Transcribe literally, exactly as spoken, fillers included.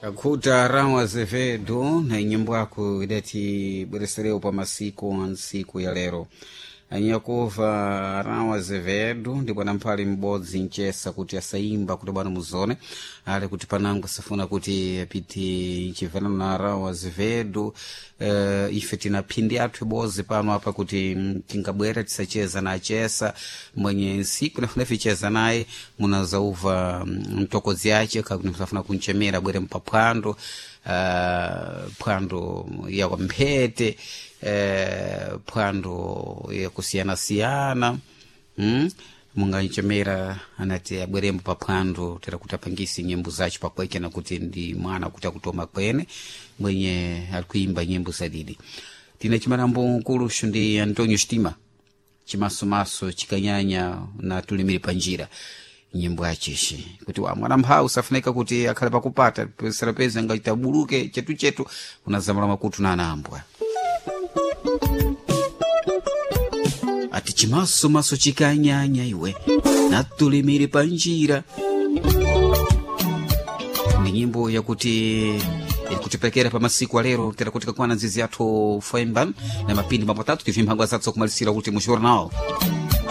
Akhuta Rão Azevedo na nyimbo yako idati bweresereo pa masiku a ntsiku ya lero. Anyakuva Rão Azevedo ndi bwana mphali m'bodzi mchesa kuti asayimba kuti bwana muzone ali kuti panango safuna kuti apite mchivana na Rão Azevedo. Uh, ife tina phindi athu ibodzi pano apa kuti mm, tingabwera tisacheza na achesa mwenye nsiku nafuna ficheza naye munazauva mm, mtokozi ache kakuti musafuna kunchemera bwere mpaphwando uh, phwando ya kwamphete uh, phwando yakusiyanasiyana mm? munganchemera anati abwerembo paphwando tera kuti apangise nyimbo zacho pakweke nakuti ndi mwana kuti akutoma kwene mwenye ali kuimba nyimbo zadidi tina chimalambo nkuluxu ndi Antonio Stima chimasomaso chikanyanya na tulimiri panjira nyimbo yachishi kuti wa mwana mphawu safunika kuti akhale pakupata sarapeza ngachita buluke chetuchetu unazamala makutu na anambwa ati chimasomaso chikanyanya iwe natulimire panjira ni nyimbo yakuti ikutipekera pa masiku alero tera kuti kakwana nzizi yathu foemba na mapindi mapatatu tive mphangwa zathu kumalisira kuti mu jornal.